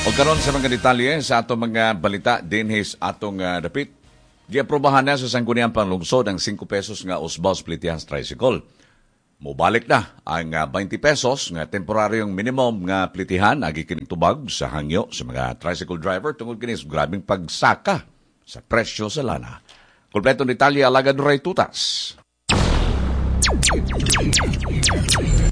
O karon sa mga detalye sa atong mga balita dinhi sa atong dapit. Giaprobahan na sa Sangguniang Panglungsod ang 5 pesos nga usbos plitihan sa tricycle. Mobalik na ang 20 pesos nga temporaryong minimum nga plitihan agi kining tubag sa hangyo sa mga tricycle driver tungod kini sa grabeng pagsaka sa presyo sa lana. Kompletong detalye alagad Ray Tutas.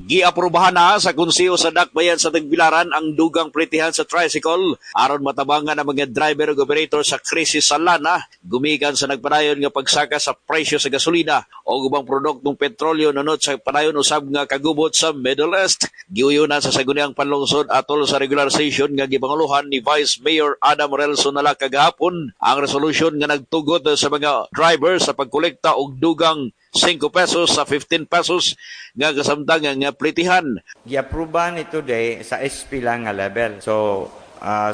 Giaprobahan na sa Konseho sa Dakbayan sa Tagbilaran ang dugang plitihan sa tricycle aron matabangan ang mga driver ug operator sa krisis sa lana gumikan sa nagpadayon nga pagsaka sa presyo sa gasolina o ubang produktong petrolyo nunot sa padayon usab nga kagubot sa Middle East. Giuyunan sa Sangguniang Panlungsod atol sa regular session nga gipanguluhan ni Vice Mayor Adam Relson Nala kagahapon ang resolution nga nagtugot sa mga driver sa pagkolekta og dugang 5 pesos sa 15 pesos nga kasamtang nga plitihan. Giaproba ni today sa SP lang nga level. So,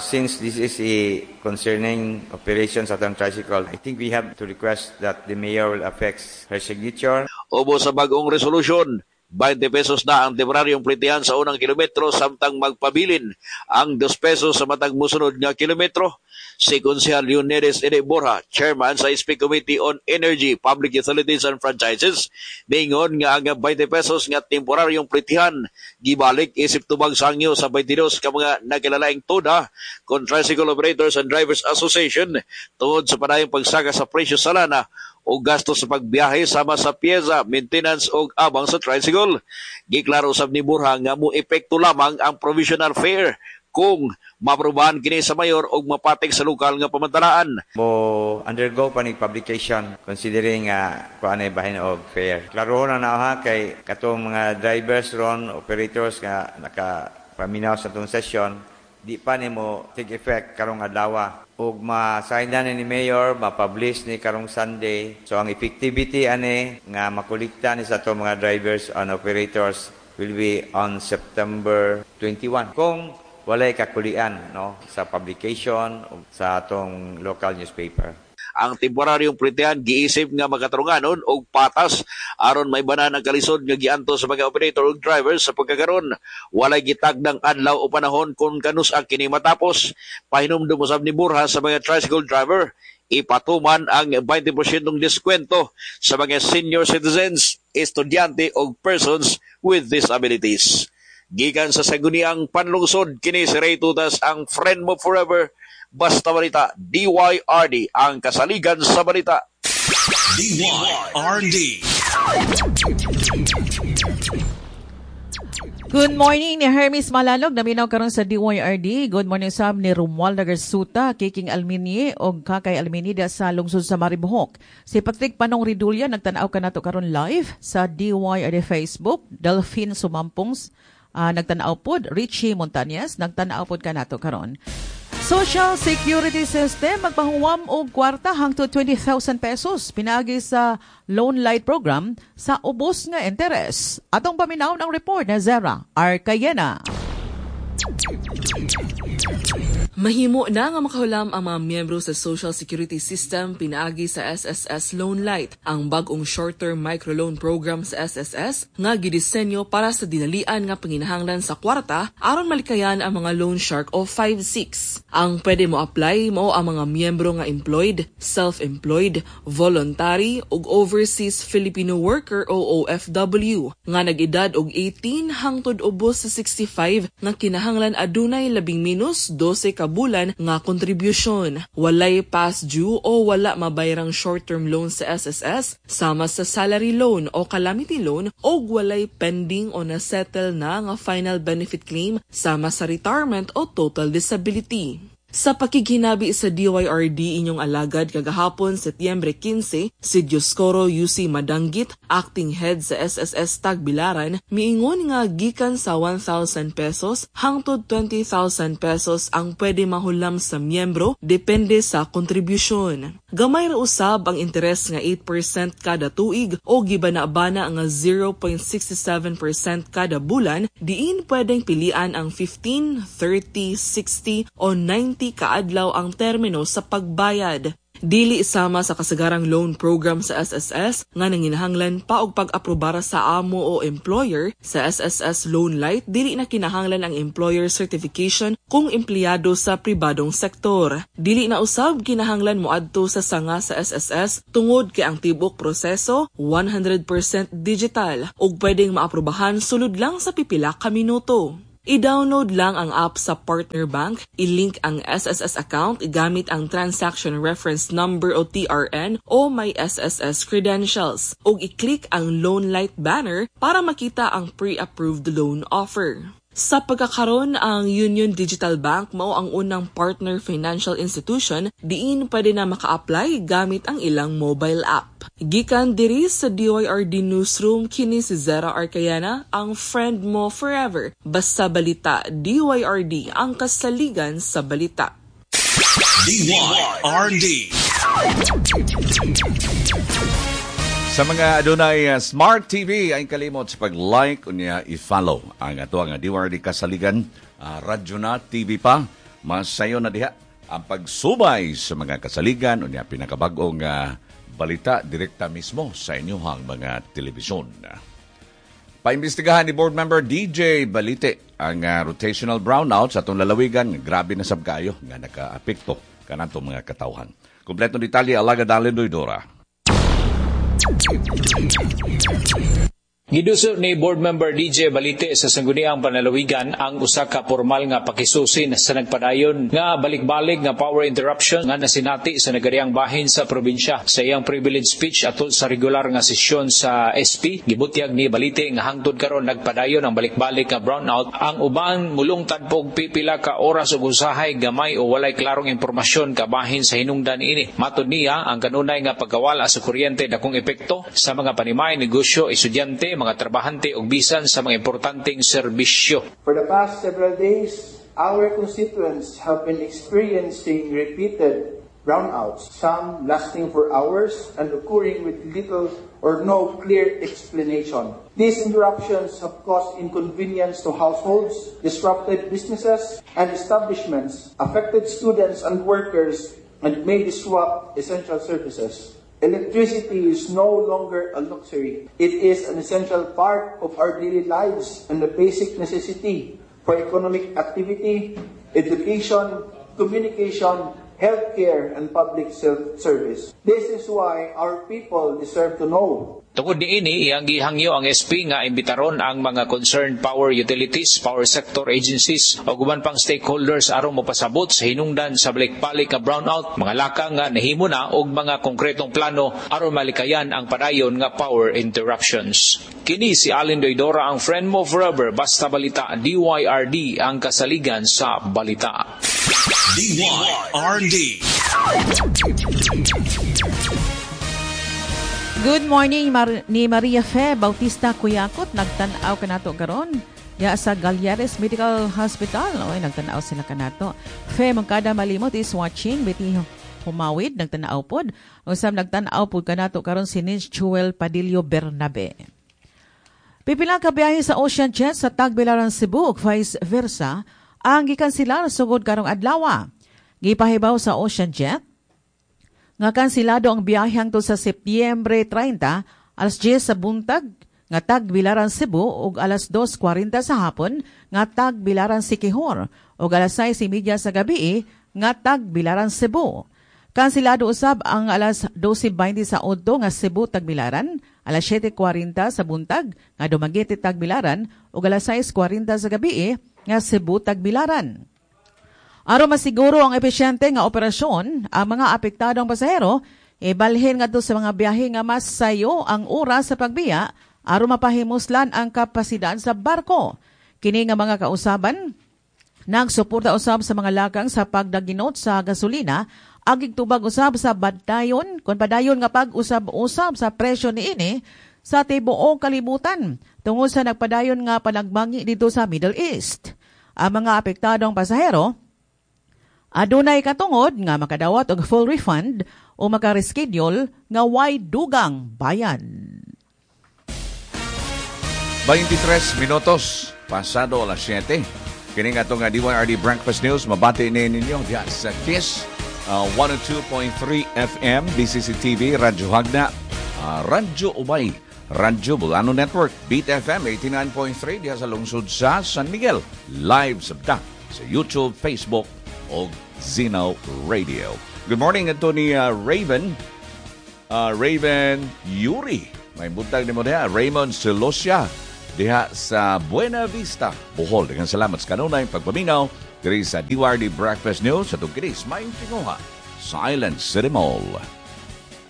since this is a concerning operations at ang tricycle, I think we have to request that the mayor will affix her signature. Ubo sa bagong resolution, 20 pesos na ang temporaryong plitihan sa unang kilometro samtang magpabilin ang 2 pesos sa matag mosunod nga kilometro. Si Konsehal Leonedes Ede Borja, chairman sa SP Committee on Energy, Public Utilities and Franchises, ningon nga ang 20 pesos nga temporaryong plitihan gibalik isip tubag sangyo sa 22 ka mga nagkilalaing toda kon Tricycle Operators and Drivers Association tungod sa padayong pagsaka sa presyo sa lana o gasto sa pagbiyahe sama sa piyesa, maintenance o abang sa tricycle. Giklaro sab ni Borja nga mo epekto lamang ang provisional fare kung maprobahan kini sa mayor og mapatik sa lokal nga pamantalaan. Mo undergo pa ni publication considering kuan ay bahin og fare. Klaro na na ha kay katong mga drivers ron, operators nga nakapaminaw sa atong session, di pa nimo take effect karong adlaw. Ug ma-sign na ni Mayor, ma-publish ni karong Sunday. So ang effectivity ani nga makolekta ni sa atong mga drivers and operators will be on September 21. Kung walay kakulian no sa publication o sa atong local newspaper. Ang temporaryong plitihan giisip nga makatarunganon og patas aron maibanan ang kalisod nga gianto sa mga operator ug drivers sa pagkakaron. Walay gitagdang adlaw o panahon kung kanus-a kini matapos. Pahinumdum usab ni Borja sa mga tricycle driver ipatuman ang 20% diskwento sa mga senior citizens, estudyante og persons with disabilities. Gikan sa Sangguniang Panlungsod, kini si Ray Tutas, ang friend mo forever. Basta Balita, DYRD, ang kasaligan sa balita. DYRD. Good morning ni Hermes Malalog, naminaw karon sa DYRD. Good morning sab ni Romualda Garsuta, Kiking Alminie og Kakay Alminie sa lungsod sa Maribohok. Si Patrick Panong Ridulya nagtan-aw kanato karon live sa DYRD Facebook. Delphine Sumampong nagtan-aw pod, Richie Montañez nagtan-aw pod kanato karon. Social Security System magpahuwam og kwarta hangtod 20,000 pesos pinaagi sa Loan Light Program sa ubos nga interes. Atong paminawon ang report na Zera Arcayena. Mahimo na nga makahulam ang mga miyembro sa Social Security System pinaagi sa SSS Loan Light, ang bag-ong short-term microloan program sa SSS nga gidisenyo para sa dinalian nga panginahanglan sa kwarta aron malikayan ang mga loan shark o 5-6. Ang pwede mo apply mao ang mga miyembro nga employed, self-employed, voluntary ug overseas Filipino worker o OFW nga nag-edad og 18 hangtod ubos sa 65 nga kinahanglan adunay labing minus 12 ka bulan nga kontribusyon. Walay past due o wala mabayrang short-term loan sa SSS sama sa salary loan o calamity loan o walay pending o na-settle na nga final benefit claim sama sa retirement o total disability. Sa pakighinabi sa DYRD inyong alagad kagahapon Setyembre 15, si Dioscoro UC Madanggit, acting head sa SSS Tagbilaran, miingon nga gikan sa 1,000 pesos hangtod 20,000 pesos ang pwede mahulam sa miyembro depende sa kontribusyon. Gamay ra usab ang interes nga 8% kada tuig o gibana-bana nga 0.67% kada bulan, diin pwedeng pilian ang 15, 30, 60 o 90 kaadlaw ang termino sa pagbayad. Dili sama sa kasagarang loan program sa SSS nga nanginahanglan pa og pag-aprobara sa amo o employer, sa SSS Loan Lite dili na kinahanglan ang employer certification kung empleyado sa pribadong sektor. Dili na usab kinahanglan moadto sa sanga sa SSS tungod kay ang tibok proseso 100% digital ug pwedeng maaprobahan sulod lang sa pipila ka minuto. I-download lang ang app sa partner bank, i-link ang SSS account gamit ang Transaction Reference Number o TRN o may SSS credentials, ug i-click ang Loan Lite banner para makita ang pre-approved loan offer. Sa pagkakaron, ang Union Digital Bank mao ang unang partner financial institution diin pwede na maka-apply gamit ang ilang mobile app. Gikan diri sa DYRD Newsroom, kini si Zera Arcayana, ang friend mo forever. Basta balita, DYRD, ang kasaligan sa balita. DYRD. Sa mga adunay Smart TV ay kalimot sa pag-like unya i-follow ang ato ang DYRD Kasaligan radyo na TV pa. Masayo na diha ang pagsubay sa mga kasaligan unya pinakabag-ong balita direkta mismo sa inyong mga telebisyon. Paimbestigahan ni board member DJ Balite ang rotational brownout sa atong lalawigan. Grabe na sab kaayo nga nakaapekto kanatong mga katawhan. Kompletong detalye alaga Dalin Doydora. Giduso ni board member DJ Balite sa Sangguniang Panlalawigan ang usa ka formal nga pakisusin sa nagpadayon nga balik-balik nga power interruption nga nasinati sa nagariang bahin sa probinsya. Sa iyang privilege speech atol sa regular nga sesyon sa SP, gibutyag ni Balite nga hangtod karon nagpadayon ang balik-balik nga brownout. Ang uban mulungtad og pipila ka oras ug usahay gamay o walay klarong impormasyon kabahin sa hinungdan ini. Matod niya ang kanunay nga pagkawala sa kuryente dakong epekto sa mga panimay, negosyo, estudyante, mga trabahante ug bisan sa mga importanteng serbisyo. For the past several days, our constituents have been experiencing repeated brownouts, some lasting for hours and occurring with little or no clear explanation. These interruptions have caused inconvenience to households, disrupted businesses and establishments, affected students and workers, and may disrupt essential services. Electricity is no longer a luxury. It is an essential part of our daily lives and a basic necessity for economic activity, education, communication, healthcare, and public service. This is why our people deserve to know. Tungod niini, iyang gihangyo ang SP nga imbitaron ang mga concerned power utilities, power sector agencies o uban pang stakeholders aron mopasabot sa hinungdan sa balik-balik nga brownout, mga lakang nga nahimo na og mga konkretong plano aron malikayan ang padayon nga power interruptions. Kini si Allen Doydora, ang friend mo forever, basta balita, DYRD ang kasaligan sa balita. DYRD. Good morning ni Maria Fe Bautista Kuyakot. Nagtan-aw kanato karon ya sa Galleres Medical Hospital. Oy, nagtan-aw sila kanato. Fe Mangkada Malimot is watching. Betty Humawid nagtan-aw pod. Usab nagtan-aw pod kanato karon si Nins Chuel Padillo Bernabe. Pipila ka biyahe sa Ocean Jet sa Tagbilaran Cebu ug vice versa ang gikanselar sugod karong adlaw. Gipahibaw sa Ocean Jet nga kansilado ang biyahe hangtod sa Setyembre 30, alas 10 sa buntag nga Tagbilaran Cebu ug alas 2:40 sa hapon nga Tagbilaran Siquijor ug alas 6:30 sa gabi nga Tagbilaran Cebu. Kansilado usab ang alas 12:20 sa udto nga Cebu Tagbilaran, alas 7:40 sa buntag nga Dumaguete Tagbilaran ug alas 6:40 sa gabi nga Cebu Tagbilaran. Aron masiguro ang epesyente nga operasyon, ang mga apektadong pasahero ibalhin ngadto sa mga biyahe nga mas sayo ang oras sa pagbiya aron mapahimuslan ang kapasidad sa barko. Kini nga mga kausaban nagsuporta usab sa mga lakang sa pagdaginot sa gasolina, agig tubag usab sa badayon kon padayon nga pag-usab-usab sa presyo niini sa tibuok kalibutan tungod sa nagpadayon nga panagbangi dito sa Middle East. Ang mga apektadong pasahero adunay katungod nga makadawat og full refund o maka-reschedule nga way dugang bayan. 23 minutos pasado alas 7. Kini nga atong DYRD Breakfast News mabati ni ninyo diha sa KISS 102.3 FM, BCC TV, Radyo Hagna, Radyo Ubay, Radyo Bulano Network, Beat FM 89.3 diha sa lungsod sa San Miguel. Live sabta sa YouTube, Facebook o Zeno Radio. Good morning ito ni Raven, Raven Yuri. May buntag nimo diha, Raymond Celosia diha sa Buena Vista, Bohol. Daghang salamat sa kanunay pagpaminaw diri sa DYRD Breakfast News sa tungkinis may tinguha sa Island City Mall.